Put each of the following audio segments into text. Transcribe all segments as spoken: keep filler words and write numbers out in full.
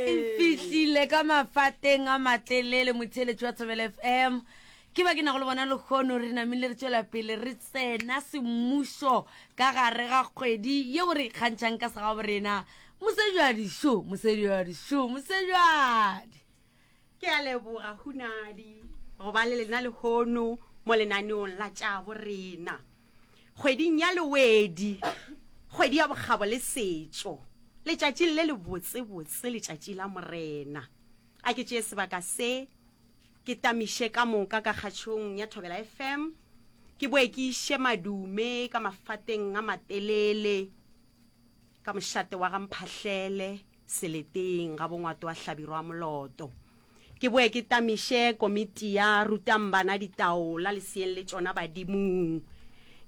E fihlile ka mafateng a matelele motheeletši wa Thobela F M. Ke ba ke nago le bona lekgono, re namile re tšwela pele re tsena semmušo ka gare ga kgwedi yeo re ikgantšhang ka segabo rena. Mosejwadi šo, mosejwadi šo, mosejwadi. Ke a leboga, Hunadi, go ba le lena lehono mo lenaneong la tša borena kgweding ya Lewedi, kgwedi ya bokgabo le setšo, letšatšing le le botsebotse, letšatši la Morena. A ke tšee sebaka se ke tamiše ka moka ka kgatšhong ya Thobela F M, ke boe ke iše madume ka mafateng a matelele ka mošate wa Gamphahlele, seleteng ga bongwato wa Hlabirwa Moloto. Ke boe ke tamiše komiti ya Rutang Bana Ditaola leseeng le tšona badimong.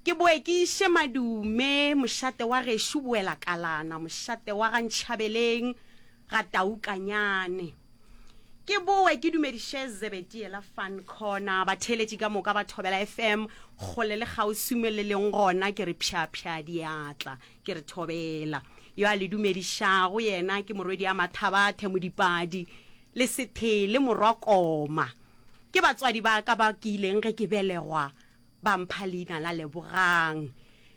Ke boe ke iše madume mošate wa gešo Boela Kalana, mošate wa ga Ntšhabeleng ga Taukanyane. Ke boe ke dumediše Zebediela Fun Corner, batheeletši ka moka ba Thobela F M kgole le kgauswi mo le leng gona, ke re pšhapšha diatla, ke re thobela. Yo a le dumedišago yena ke morwedi ya Mathabathe Modipadi le Sethele morwa Koma. Ke batswadi ba ka ba ke ileng ge ke belegwa ba mpha leina la Lebogang,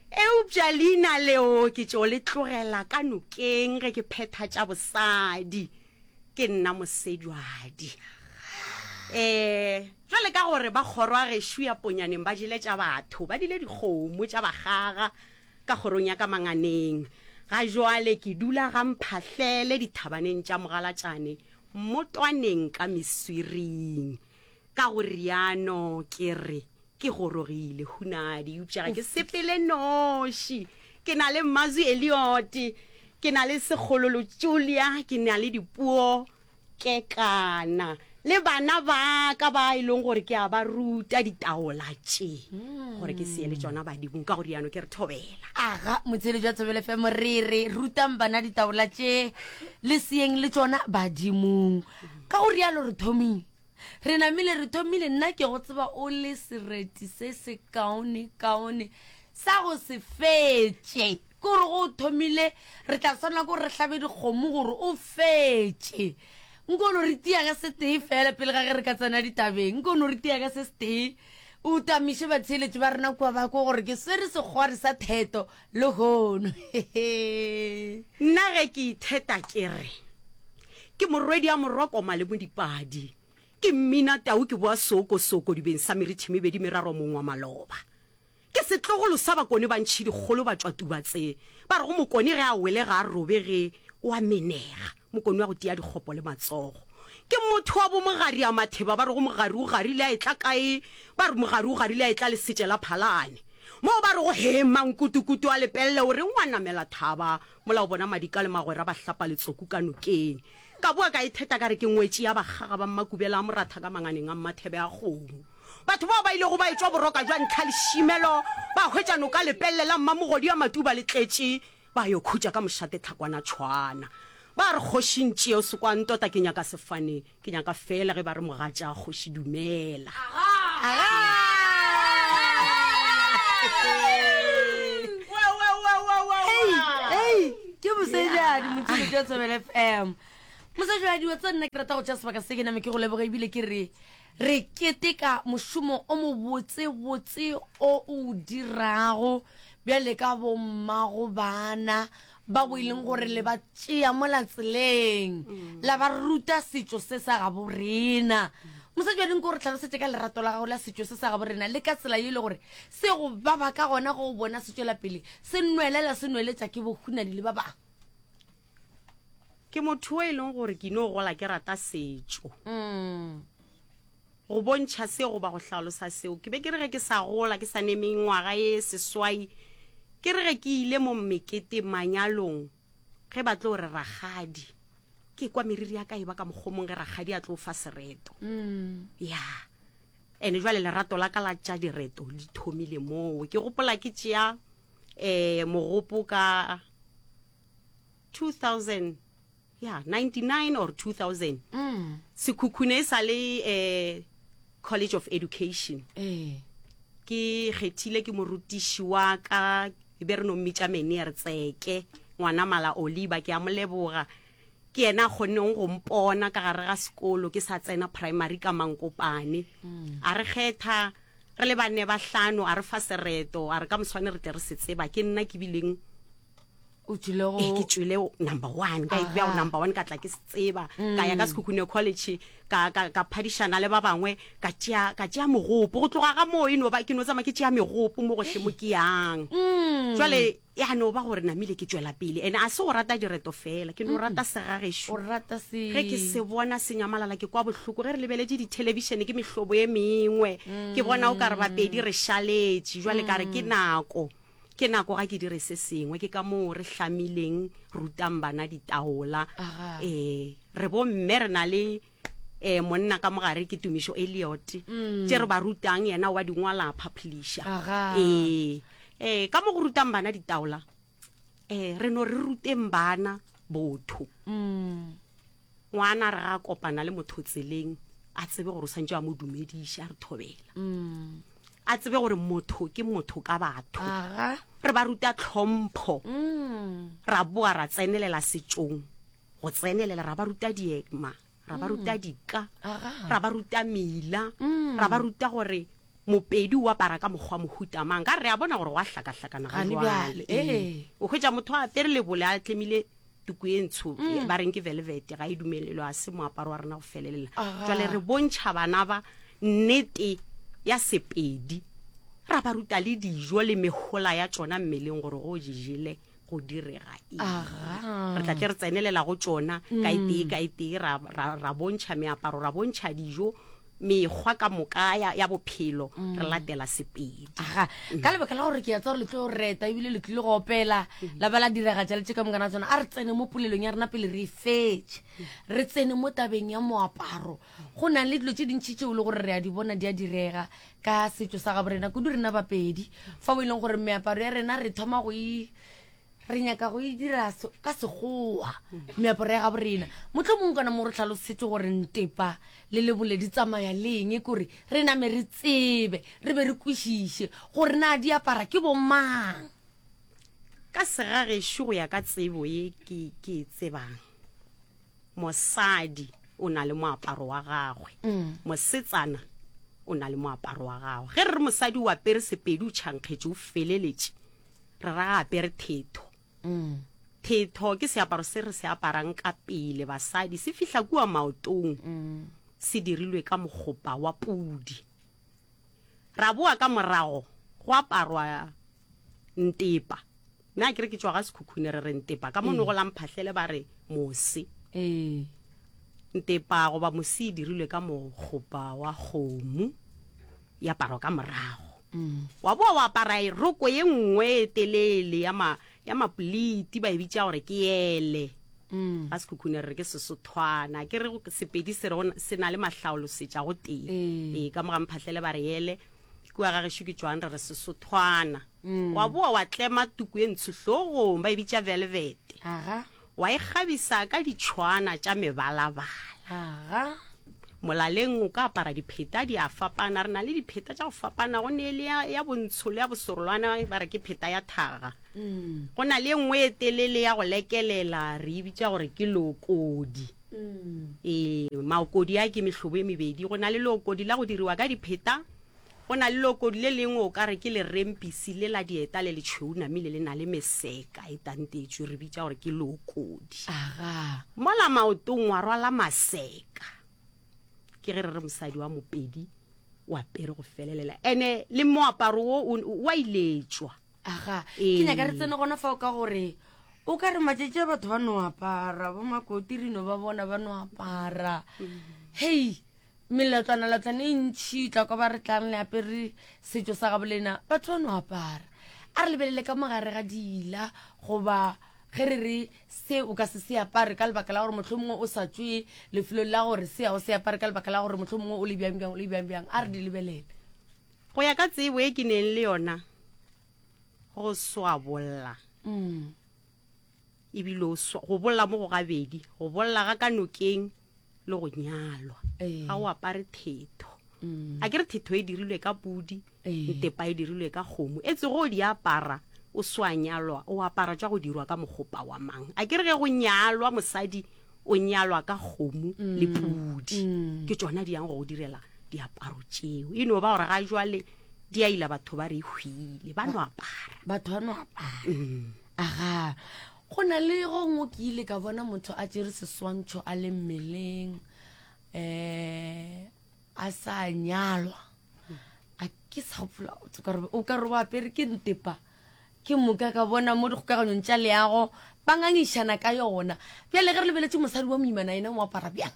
eupša leina leo ke tšo le tlogela ka nokeng ge ke phetha tša bosadi. Ke nna Mosejwadi. um jwale ka gore ba kgoro ya gešo ya Ponyaneng ba jele tša batho, ba dile dikgomo tša bagaga ka kgorong ya ka Manganeng. Ga jwale ke dula ga Mphahlele dithabaneng tša Mogalatšane, mmotwaneng ka Meswiring. Ka go riano ke re ke gorogile, Hunadi, eupša ga ke sepele noši. Ke na le Mazwi Eliot, ke na le Sekgololo Julia, ke na le Dipuo Kekana le bana ba ka ba e leng gore ke a ba ruta ditaola tše gore ke sie le tšona badimong. Ka go riano ke re thobela. Aga, motheeletši wa Thobela F M, re re rutang bana ditaola tše le seeng le tšona badimong. Ka go rialo re thomile, re namile re thomile. Nna ke go tseba o le sereti se se kaone kaone sa go se fetše, ke gore go o thomile re tla tshwanela ke gore re hlabe dikgomo gore o fetše. Nko no re tia ka se tee fela pele ga ge re ka tsena ditabeng, nko no re tia ka se se tee, o tamiše batheeletši ba rena kua ba ko gore ke swere sekgwari sa theto lehono. Nna ge ke itheta ke re ke morwedi ya morwakoma le Modipadi, ke mmina tau, ke boa sookosoko dibeng sa merithi mebedi meraro mong wa maloba. Ke setlogolo sa Bakone ba ntšhi dikgolo ba tšwa Tubatse, ba re go mokone ge a wele ga a robege, o a menega, mokone wa go tia dikgopo le matsogo. Ke motho wa bomogari a Matheba, ba re go mogari o garile a etla kae? Ba re mogari o garile a etla lesetše la Phalane, moo ba re go he mankutukutu a lepelle, o reng wa namela thaba mola o bona madika le magwera ba hlapa letsoku ka nokeng. Ka boa ka itheta ka re ke ngwetši ya bakgaga ba Mmakubela a Moratha ka manganeng a Mmathebe a kgomo. Batho bao ba ilego ba etšwa boroka jwa ntlha lešimelo, ba hwetša noka lepelle la Mmamogodi ya Matuba le tletše, ba yo khutša ka mošate Tlhakwana tšhwana. Ba re kgoši ntšee o se kwa ntota, ke nyaka sefane, ke nyaka fela ge ba re mogatša kgoši dumela. Ei, ke mosejadi, motheeletši wa Thobela F M, mosejadi wa tsa. Nna ke rata go tšea sebaka se ke name ke go leboga, ebile ke re re keteka mošomo o mobotsebotse o o dirago bjale ka bommago bana ba bo e leng gore le ba tšea mola tseleng la ba ruta setšo se sa gabo rena. Mosadi wa gore tlhalosetse ka lerato la gago la setšo se sa gabo rena le ka tsela ye e le gore se go baba ka gona go bona se tšwela pele se nwelela, se nweletša ke bohunadi le ba bangwe. Ke motho o e leng gore ke no gola ke rata setšo. Mm. Go bontšha se goba go hlalosa seo, ke be ke re ge ke sa gola, ke sa ne mengwaga ye seswai, ke re ge ke ile mo mekete manyalong, ge ba tlo re rakgadi, ke kwa meriri ya ka e ba ka mokgomong ge rakgadi a tlo fa sereto. Mm. Ya, ene jwale lerato la ka la tša direto le thomile moo. Ke gopola ke tšea um mogopo ka two thousand, ya ninety-nine or two thousand. Mm. Sekhukhune e sa le um College of Education. Ee. Ke kgethile ke morutiši wa ka, e be re no mmitša Menier Tseke, ngwana mala Oliba, ke a mo leboga. Ke Ke yena a kgonneng go mpona ka gare ga sekolo ke sa tsena primary ka Mankopane. A re kgetha re le banne ba hlano, a re fa sereto, a re ka moswane re tle re se tseba. Ke nna ke bileng O tšwile go Ee, ke tšwile number one, ka e bea go number one, ka tla ke se tseba. Ka ya ka Sekhukhune College, ka, ka, ka phadišana le ba bangwe, ka tšea, ka tšea mogopo. Go tloga ga moo e no ba, ke no tsamaya ke tšea megopo mo gohle mo ke yang. Jwale ya no ba gore namile ke tšwela pele. Ene a se go rata direto fela, ke no rata segagešo. O rata se. Ge ke se bona se nyamalala ke kwa bohloko. Ge re lebeletše dithelebišene ke mehlobo e mengwe, ke bona o ka re bapedi re šaletše. Jwale ka re ke nako, ke nako ga ke dire se sengwe. Ke ka moo re hlamileng Rutang Bana Ditaola. Aga. Eh, re bomme re na le eh monna ka mogare ke Tumišo Elliot, tše re ba rutang yena wa di ngwala a publisher. Aga. Eh, eh ka mo go rutang bana ditaola, eh re no re ruteng bana botho. Mm. Ngwana re ga kopana le motho tseleng, a tsebe gore o santse a mo dumediša, a re thobela. Mm. A tsebe gore motho ke motho ka batho. Aga. Re ba ruta tlhompho. Mm. Ra boa ra tsenelela setšong. Go tsenelela ra ba ruta diema, ra ba ruta dika, Aga. ra ba ruta mela, Mm. ra ba ruta gore mopedi o apara ka mokgwa mohuta mang. Ka re a bona gore wa hlakahlakana ga Gane jwale. bjale, Ee. ee. O hwetša motho a apere lebole a tlemile tuku e ntsho, ba reng ke velvet, ga e dumelelwe, a se moaparo wa rena go felelela. Aga. Jwale re bontšha bana ba nnete ya Sepedi, ra ba ruta le dijo le mehola ya tšona mmeleng gore go di jele go direga eng. Aga. Re tla tle re tsenelela go tšona ka e tee ka e tee, ra, ra, ra bontšha meaparo, ra bontšha dijo, mekgwa ka moka ya, ya bophelo, re latela Sepedi. Aga, ka lebaka la gore ke ya tsa gore le tlo reta ebile le tlile go opela, la ba la diragatša le tše ka mokana tsona, a re tsene mo polelong ya rena pele re e fetše. Re tsene mo tabeng ya moaparo. Go na le dilo tše dintši tšeo e le gore re a di bona di a direga ka setšo sa gabo rena, kudu rena Bapedi, fa o e leng gore meaparo ya rena re thoma go e, re nyaka go e dira se-, ka sekgowa, meaparo ya gabo rena. Mohlomongwe kana mo re tlhalosetse gore ntepa le lebole di tsamaya le eng, kore re name re tsebe, re be re kwešiše gore na di apara ke bo mang. Ka segagešo go ya ka tsebo ye ke, ke e tsebang, mosadi o na le moaparo wa gagwe, Mm. mosetsana o na le moaparo wa gagwe. Ge re re mosadi o apere Sepedi, o tšhankgetše, o feleletše, re ra apere thetho. Mm. Thetho ke seaparo se re se aparang ka pele basadi, se fihla kua maotong, Mm. se dirilwe ka mokgopa wa pudi. Ra boa ka morago go aparwa ntepa. Nna ke re ke tšwa ga Sekhukhune, re re ntepa. Ka mono go la Mphahlele ba re mose. Ee. Ntepa goba mose e dirilwe ka mokgopa wa kgomo, e aparwa ka morago. Mm. Wa boa wa apara roko ye nngwe e telele ya ma-, ya mapoliti, ba e bitša gore ke ele. Mm. Ga Sekhukhune re re ke Sesothwana. Ke re Sepedi se re go na, se na le mahlaolosetša go tee. Ee. Ee, ka mo ga Mphahlele ba re ele. Kua ga gešo ke tšwang re re Sesothwana. Mm. Wa boa wa tlema tuku e ntsho hlogong, ba e bitša velvet. Aga. Wa e kgabisa ka ditšhwana tša mebalabala. Aga. Molaleng o ka apara dipheta, di a fapana. Re na le dipheta tša go fapana, go ne le ya, ya bontsho le ya bosorolwana, ba re ke pheta ya thaga. Mm. Go na le e nngwe e telele ya go lekelela, re e bitša gore ke lokodi. Mm. Ee, maokodi a ke mehlobo e mebedi. Go na le lokodi la go diriwa ka dipheta, go na le lokodi le lengwe o ka re ke lerempisi le la dieta le letšhweu namile le na le meseka e tantetšwe, re bitša gore ke lokodi. Aga. Mola maotong wa rwala maseka. Ke ge re re mosadi wa Mopedi o apere go felelela, ene le moaparo wo o, o a iletšwa. Aga, Ee. ke nyaka re tsene gona fao ka gore o ka re matšatši a batho ba no apara, bo makoti re no ba bona ba no apara. Hei, meletlwana-letlwana e ntšhi tla kwa ba re tlang le apere setšo sa gabo lena, batho ba no apara. A re lebelele ka mogare ga diila, goba ge re re se o ka se se apare ka lebaka la gore mohlomongwe o sa tšwe lefelong la gore se a o se apare ka lebaka la gore mohlomongwe o le bjang bjang, o le bjang bjang. A re di lebelele. Go ya ka tsebo e ke neng le yona, go swabolla. Mm. Ebile o swa-, go bolla mo go gabedi, go bolla ga ka nokeng le go nyalwa. Ee. Ga o apare thetho. Mm. A ke re thetho e dirilwe ka pudi, Ee. ntepa e dirilwe ka kgomo. E tsogo o di apara, o swa nyalwa, o apara tša go dirwa ka mokgopa wa mang. A ke re ge go nyalwa mosadi, o nyalwa ka kgomo le pudi. Ke tšona di yang go go direla diaparo tšeo. E no ba gore ga jwale di a ila, batho ba re e hwile, ba no apara. Batho ba no apara. Aga, go na le gongwe ke ile ka bona motho a tšere seswantšho a le mmeleng, um a sa nyalwa, a ke sa gopola, o ka re o apere ke ntepa. Ke moka ka bona mo dikgokaganyong tša leago ba ngangišana ka yona. Bjale ge re lebeletše mosadi wa moimana, ena o apara bjang?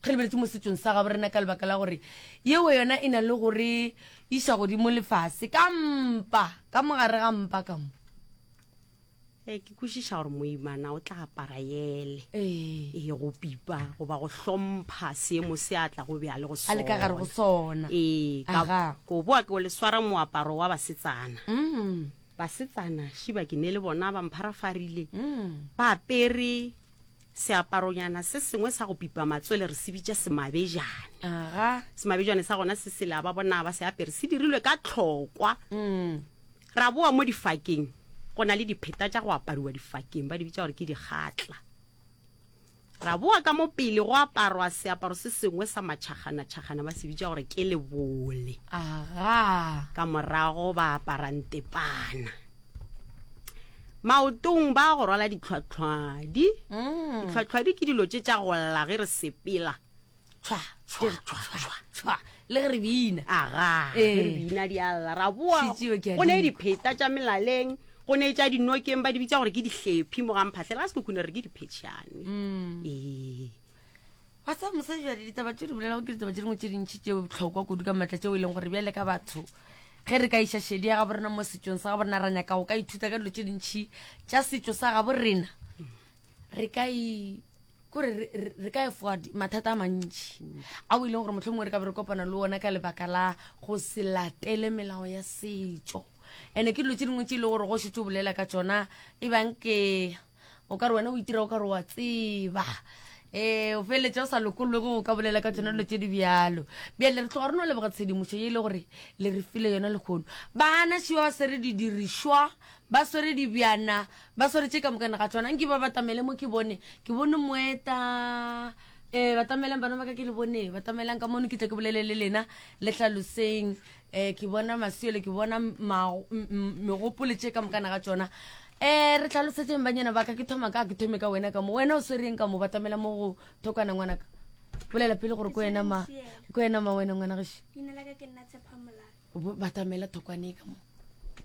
Ge re lebeletše mo setsong sa gabo rena, ka lebaka la gore yeo yona e na le gore iša godimo lefase ka mpa, ka mogare ga mpa ka mo. E ke kwešiša gore moimana o tla apara yele ee e go pipa goba go hlompha seemo se a tla go bja le go a le ka gare go sona. Ee, ka Aga. ko boa ke o le swara moaparo wa basetsana. Mm, Basetsana šiba ke ne le bona ba mpharafarile, mm. ba apere seaparonyana se sengwe sa go pipa matswele, re se bitša semabejane. Aga. Semabejane sa gona se sela ba bona ba se apere, se dirilwe ka tlhokwa. Mm. Ra boa mo difakeng, go na le dipheta tša go apariwa difakeng, ba di bitša gore ke dikgatla. Ra boa ka mo pele, go aparwa seaparo se sengwe sa matšhagana-tšhagana, ba se bitša gore ke lebole. Aga. Ka morago ba apara ntepana, maotong ba go rwala ditlhwatlhwadi. Mm. Ditlhwatlhwadi ke dilo tše tša go lla ge re sepela. Tshwa tshwa tshwa tshwa, le ge re bina. Aga. Ee. Ge re bina di a lla. Ra boa, Šetšeo ke a go ne di dipheta tša melaleng, go ne tša dinokeng, ba di bitša gore ke dihlephi, mo ga mphatlhela ga Sekhukhune re ke diphetšhane. Mm. Ee. Wa tseba mosadi, jale ditaba tše di bolelago ke ditaba tše dingwe tše dintšhi tše bohlokwa kudu ka maatla, tšeo e leng gore bjale ka batho ge re ka iša šedi ya gabo rena mo setsong sa gabo rena, ra nyaka go ka ithuta ka dilo tše dintšhi tša setšo sa gabo rena, re ka i kore re- re re ka efoga di- mathata a mantšhi ao e leng gore mohlomongwe re ka be re kopana le ona ka lebaka la go se latele melao ya setšo. And-e ke dilo tše dingwe tše e leng gore go šetse o bolela ka tšona, e bang ke o ka re wena o itira o ka re wa tseba, um o feleletša o sa lokollwe go ka bolela ka tsona dilo tše di bjalo. Bjale re tloga re no leboga tshedimošo ye e le gore le re file yona lehono. Bana šiwa ba swere didirišwa, ba swere dibjana, ba swere tše ka mokana ga tsona. Nke ba batamele mo, ke bone ke bone moeta. Um batamelang bana ba ka, ke le bone, batamelang ka mono, ke tle ke bolele le lena, le hlaloseng. Um ke bona masiole, ke bona mago- m- m- megopolo tše ka mokana ga tsona. Um re tlhalosetseng banyana ba ka. Ke thoma ka, ke thome ka wena ka mo. Wena o swereng ka mo? Batamela mo go thokwana, ngwanaka. Bolela pele gore ko wena ma, ko wena ma, wena ngwana gešo. Leina la ka ke nna Tshepa Molala. Bo- batamela thokwane ka mo.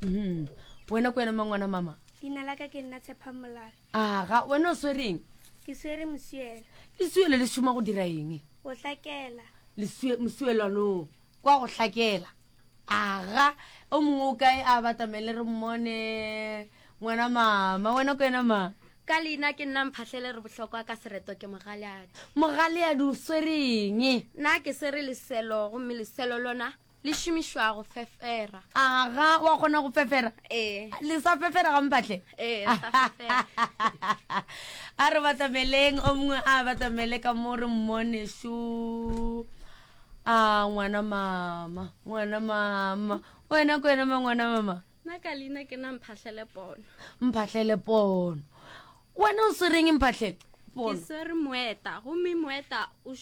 Mhm. Wena ko wena ma, ngwana mama. Leina la ka ke nna Tshepa Molala. Aga, wena o swereng? Ke swere mosielo. Lesuelo le šoma go dira eng? Go hlakela. Lesue- mosuelwanong kwa go hlakela. Aga, o mongwe o kae? A batamele re mmone. Ngwana mama, wena ko wena ma. Ka leina ke nna Mphahlele re bohlokwa, ka sereto ke Mogaleadi. Mogaleadi, o swereng? Nna ke swere leselo, gomme leselo lona le šomišwa go fefera. Aga, wa kgona go fefera? Ee. Le sa fefera ga mphatlhe? Ee, re sa fefera. A re batameleng, o mongwe a batamele ka mo re mmone. Šo a ngwana mama, ngwana mama, wena ko wena ma, ngwana mama. Nna ka leina ke nna Mphahlele Pono. Mphahlele Pono, wena o swereng, Mphahlele Ke Pono? swere moeta, gomme moeta o